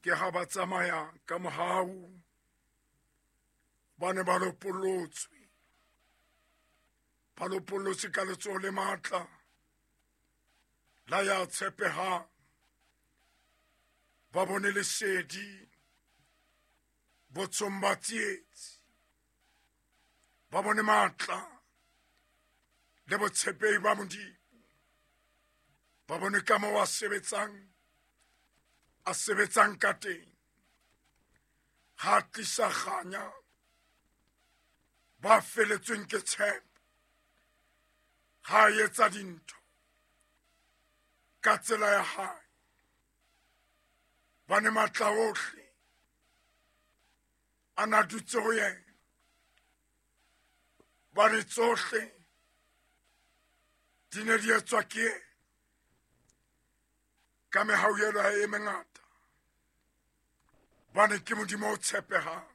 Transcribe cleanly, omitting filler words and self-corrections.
Ke ha ba tsamaya ka mohau, ba ne ba lopollotswe. Ba lopollotswe ka letsoho le matla la ya tshepehang. Ba bone lesedi botshong ba tsietsi. Ba bone matla le botshepehi ba Modimo. Ba bone ka moo a sebetsang, a sebetsang ka teng. Ha a tlisa kganya ba feletsweng ke tshepo. Ha a etsa dintho ka tsela ya hae. Ba ne matla ohle a na dutse ho yena. Ba ne tsohle di ne di etswa ke yena. Ka mehauhelo ya e mengata. Ba ne ke Modimo o tshepehang.